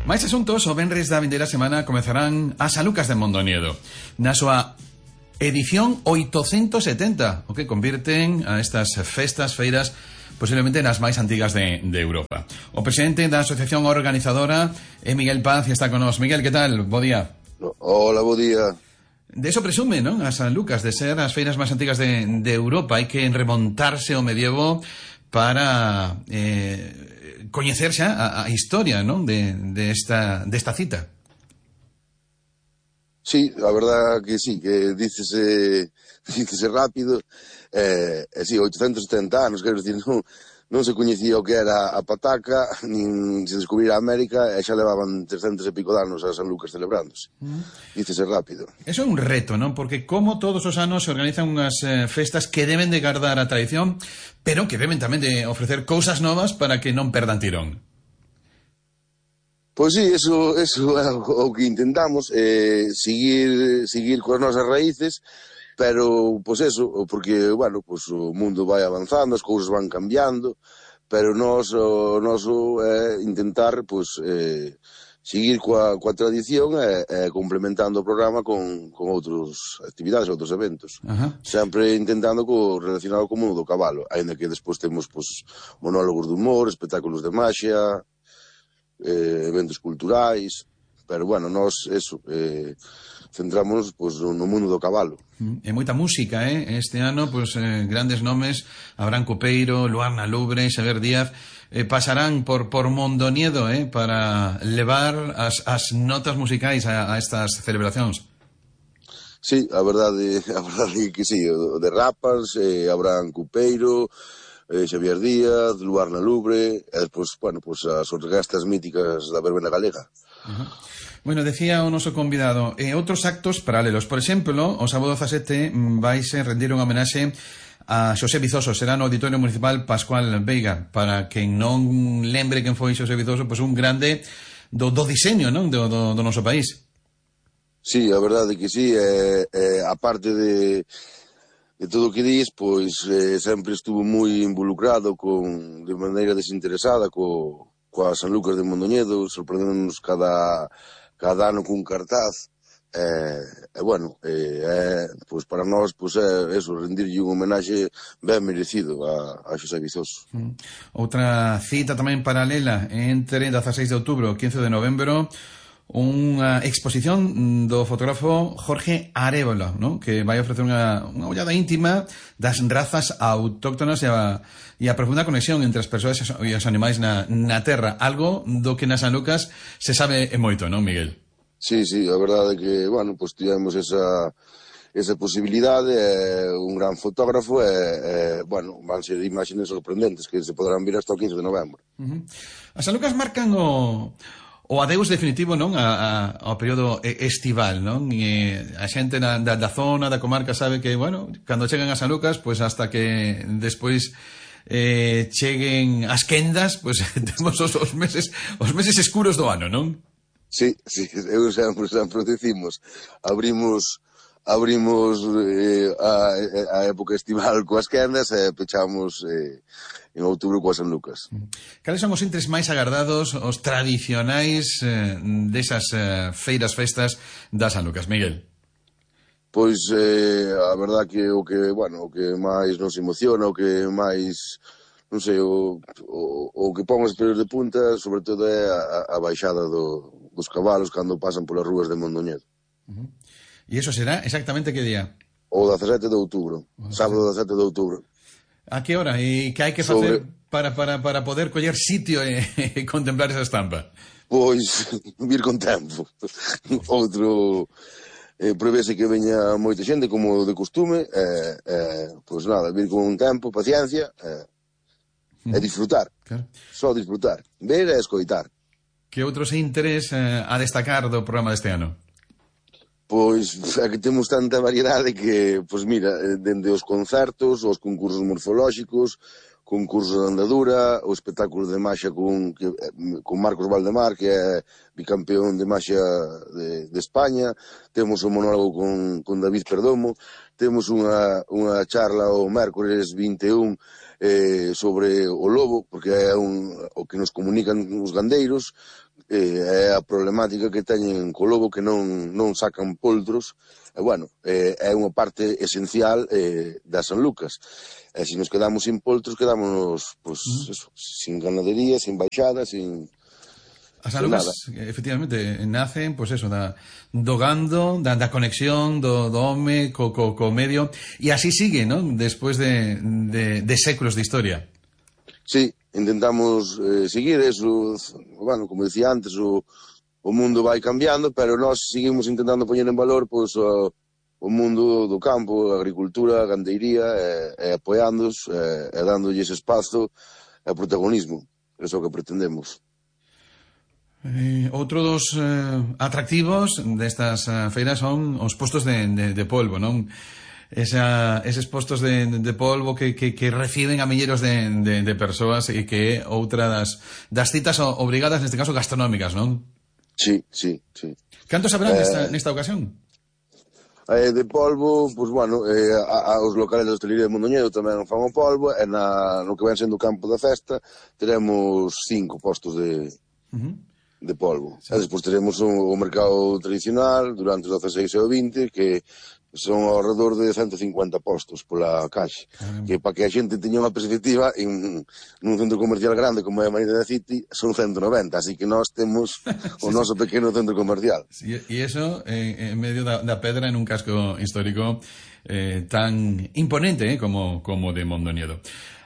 Máis asuntos, o venres da vindeira semana comezarán as Sanlucas de Mondoñedo na súa edición 870, o que convirten a estas festas, feiras, posiblemente nas máis antigas de Europa. O presidente da asociación organizadora é Miguel Paz e está con nós. Miguel, que tal? Bo día. Hola, bo día. De eso presume, non? As Sanlucas, de ser as feiras máis antigas de Europa. Hai que remontarse ao medievo para coñecer xa a historia, non? Desta cita. Sí, a verdad que sí, que dícese rápido. Sí, 870 anos, quero dicir, non se coñecía o que era a pataca, nin se descubrira a América, e xa levaban 300 e pico de anos as Sanlucas celebrándose. Dícese rápido. Eso é un reto, non? Porque como todos os anos se organizan unhas festas que deben de guardar a tradición, pero que deben tamén de ofrecer cousas novas para que non perdan tirón. Pois sí, eso é o que intentamos, seguir coas nosas raíces, pero, pois eso, porque, bueno, pois o mundo vai avanzando, as cousas van cambiando, pero o noso é intentar, pois, seguir coa tradición e complementando o programa con outras actividades, outros eventos. Sempre intentando relacionado co mundo do cabalo, aínda que despois temos, pois, monólogos de humor, espectáculos de maxia, eventos culturais, pero, bueno, nós, eso, centrámonos, pois, no mundo do cabalo. E moita música, este ano, pois, grandes nomes, Abraham Copeiro, Luarna Lubre, Xavier Díaz, pasarán por Mondoñedo, para levar as notas musicais a estas celebracións. Sí, a verdade que sí, o de Rapas, Abraham Copeiro, Xavier Díaz, Luarna Lubre, e despois, bueno, pois as orquestas míticas da verbena galega. Bueno, decía o noso convidado, outros actos paralelos. Por exemplo, o sábado 17 vaise rendir unha homenaxe a Xosé Vizoso. Será no Auditorio Municipal Pascual Veiga. Para quen non lembre quen foi Xosé Vizoso, pois un grande do diseño, non? Do noso país. Sí, a verdade que sí. A parte de todo o que dis, pois sempre estuvo moi involucrado de maneira desinteresada coas Sanlucas de Mondoñedo, sorprendéndonos cada ano cun cartaz, bueno, pois para nós, pois é eso, rendirlle un homenaxe ben merecido a Xosé Vizoso. Outra cita tamén paralela entre 16 de outubro e 15 de novembro, unha exposición do fotógrafo Jorge Arévalo, non? Que vai ofrecer unha ollada íntima das razas autóctonas e a profunda conexión entre as persoas e os animais na terra, algo do que nas Sanlucas se sabe moito, non, Miguel? Sí, a verdade é que, bueno, pois tivemos esa posibilidade, un gran fotógrafo bueno, van ser imaxes sorprendentes que se poderán ver hasta o 15 de novembro. As Sanlucas marcan o adeus definitivo, non, ao período estival, non? E a xente da zona, da comarca sabe que, bueno, cando chegan as Sanlucas, pois hasta que despois cheguen as quendas, pois temos os meses escuros do ano, non? Sí, eu sempre decimos, abrimos a época estival coas quendas e pechamos en outubro coas Sanlucas. Cales son os intres máis agardados, os tradicionais desas feiras, festas das Sanlucas, Miguel? Pois a verdad que o que máis nos emociona, o que máis, non sei, o que pon os pelos de punta, sobre todo é a baixada dos cabalos cando pasan polas rúas de Mondoñedo. E iso será exactamente que día? O 17 de outubro, sábado 17 de outubro. A que hora? E que hai que facer para poder coller sitio e contemplar esa estampa? Pois, vir con tempo. Outro, prevese que veña moita xente, como de costume, pois nada, vir con tempo, paciencia, e disfrutar. Claro. Só disfrutar. Ver e escoitar. Que outros interés a destacar do programa deste ano? Pois é que temos tanta variedade que, pois mira, dende os concertos, os concursos morfolóxicos, concursos de andadura, o espectáculo de maxia con Marcos Valdemar, que é bicampeón de maxia de España, temos o monólogo con David Perdomo, temos unha charla o mércores 21 sobre o lobo, porque é o que nos comunican os gandeiros, é a problemática que teñen co lobo, que non sacan poltros, e bueno, é unha parte esencial da San Lucas. E se nos quedamos sin poltros, quedamos pues, eso, sin ganadería, sin baixada, sin... As alugas, efectivamente, nacen, pois eso, do gando, da conexión do home co medio, e así sigue, non? Despois de séculos de historia. Sí, intentamos seguir eso, bueno, como decía antes, o mundo vai cambiando, pero nós seguimos intentando poñer en valor, pois, o mundo do campo, a agricultura, a gandeiría, e apoiándoos, e dándolles espazo e protagonismo. Eso é o que pretendemos. Outro dos atractivos destas feiras son os postos de polvo, non? Eses postos de polvo que reciben a milleiros de persoas e que é outra das citas obrigadas, neste caso gastronómicas, non? Sí. Cantos habrán nesta ocasión? De polvo, pois bueno, os locales da hostelería de Mondoñedo tamén fan o polvo, e no que ven sendo o campo da festa teremos 5 postos de polvo. Sí. E despois teremos o mercado tradicional durante os 16 e o 20, que son ao redor de 150 postos pola caixa. Que para que a xente teña unha perspectiva, nun centro comercial grande como é a Marina City, son 190, así que nós temos o noso pequeno centro comercial. Sí, e iso en medio da pedra, en un casco histórico tan imponente como de Mondoñedo.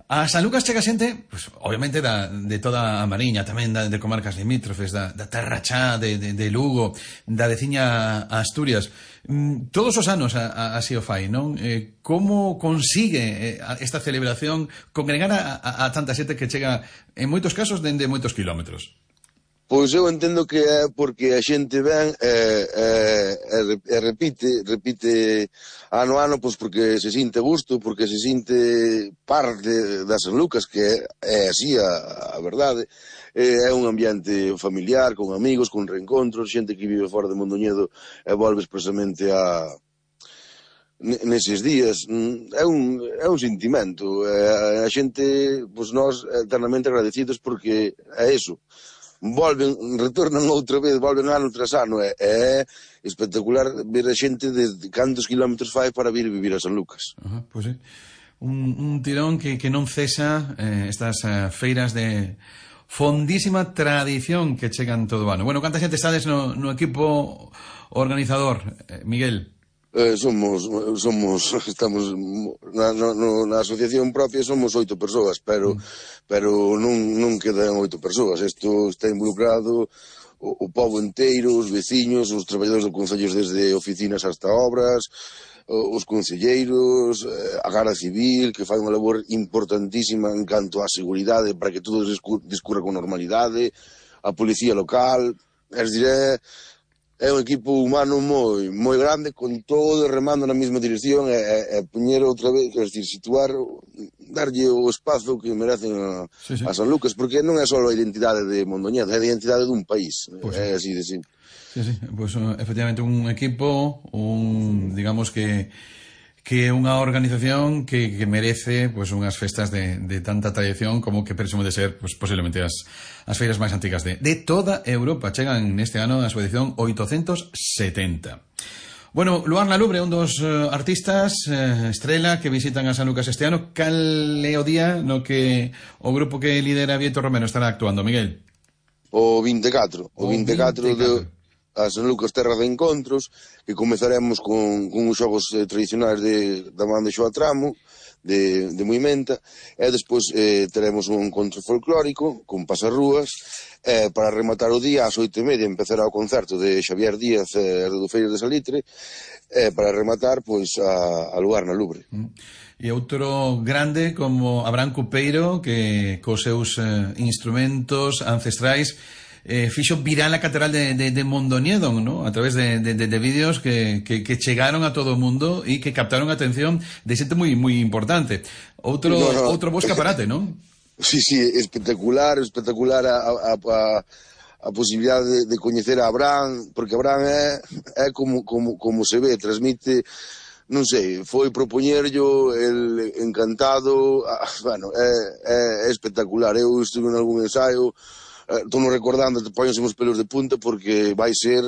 A San Lucas chega xente, pues, obviamente de toda a Mariña, tamén de comarcas limítrofes, da Terra Chá, de Lugo, da veciña Asturias. Todos os anos así o fai, non? Como consigue esta celebración congregar a tanta xente que chega, en moitos casos, dende moitos kilómetros? Pois eu entendo que é porque a xente ven e repite ano a ano, pois porque se sinte gusto, porque se sinte parte da San Lucas, que é así a verdade. É un ambiente familiar, con amigos, con reencontros, xente que vive fora de Mondoñedo e volve expresamente neses días. É un sentimento. A xente, pois nós, eternamente agradecidos, porque é eso. Retornan outra vez, volven ano tras ano. É espectacular ver a xente de cantos kilómetros fai para vir vivir a San Lucas. Pois é. Un tirón que non cesa, estas feiras de fondísima tradición que chegan todo o ano. Bueno, canta xente estades no equipo organizador, Miguel? Estamos na asociación propia, somos 8 persoas, pero non quedan 8 persoas. Isto está involucrado o pobo enteiro, os veciños, os traballadores do concello, desde oficinas hasta obras, os concelleiros, a Garda Civil, que fai unha labor importantísima en canto á seguridade para que todo discurra con normalidade, a policía local, é un equipo humano moi grande, con todo remando na mesma dirección, e poñer outra vez, situar, darlle o espazo que merecen a San Lucas, porque non é só a identidade de Mondoñedo, é a identidade dun país, pues é así de simple. Sí, pues efectivamente un equipo, digamos que unha organización que merece pues unhas festas de tanta tradición como que presume de ser pues posiblemente as feiras máis antigas de toda Europa. Chegan neste ano a súa edición 870. Bueno, Luar na Lubre, un dos artistas estrela que visitan a San Lucas este ano. Cal é o día no que o grupo que lidera Vieto Romero estará actuando, Miguel? O 24 de a San Lucas Terra de Encontros, que comezaremos con os xogos tradicionais da man de Xoa Tramo, de Moimenta, e despois teremos un encontro folclórico con pasarrúas, para rematar o día ás 8:30 empezará o concerto de Xavier Díaz e do Feiras de Salitre, para rematar pois a Luar na Lubre. E outro grande como Abraham Cupeiro, que cos seus instrumentos ancestrais fixo viral a catedral de Mondoñedo, ¿no? A través de vídeos que chegaron a todo o mundo e que captaron a atención de xente moi importante. Outro bo escaparate, non? Sí, espectacular a posibilidade de coñecer a Abraham, porque Abraham é como se ve, transmite non sei, foi propoñerllo, el encantado, bueno, é espectacular. Eu estuve en algún ensaio, estou non recordando, te poñense os pelos de punta porque vai ser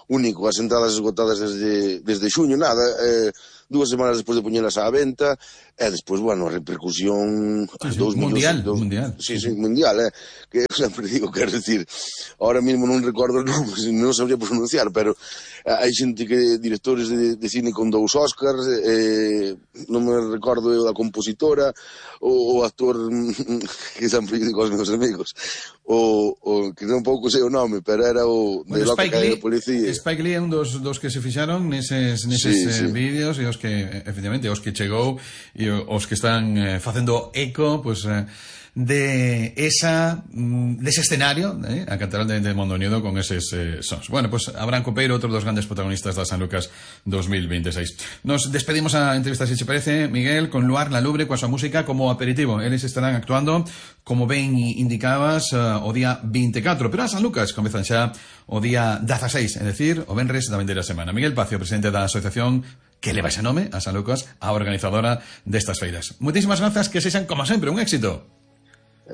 único, as entradas esgotadas desde xuño, nada, 2 semanas despois de poñelas á venta, e despois, bueno, a repercusión... Sí, mundial. Sí, mundial, que eu sempre digo, quero decir, ahora mismo non recordo os nomes, non sabría pronunciar, pero hai xente que, directores de cine con 2 Oscars, non me recordo eu da compositora, o actor que sempre digo aos meus amigos, o que non pouco sei o nome, pero era o de Loca Calle de Policía. Spike Lee é un dos que se fixaron neses vídeos, e os que, efectivamente, os que chegou e os que están facendo eco, pues, dese escenario, a Catedral de Mondoñedo, con eses sons. Bueno, pues Abraham Copeiro, outro dos grandes protagonistas da San Lucas 2026. Nos despedimos a entrevista, se che parece, Miguel, con Luar La Lubre, coa súa música como aperitivo. Eles estarán actuando, como ben indicabas, o día 24, pero a San Lucas comezan xa o día 16, é dicir, o venres da vendeira semana. Miguel Pacio, presidente da asociación que leva ese nome, a San Lucas, a organizadora destas feiras. Moitísimas grazas, que sexan, como sempre, un éxito.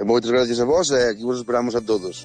Moitas gracias a vos, e aquí vos esperamos a todos.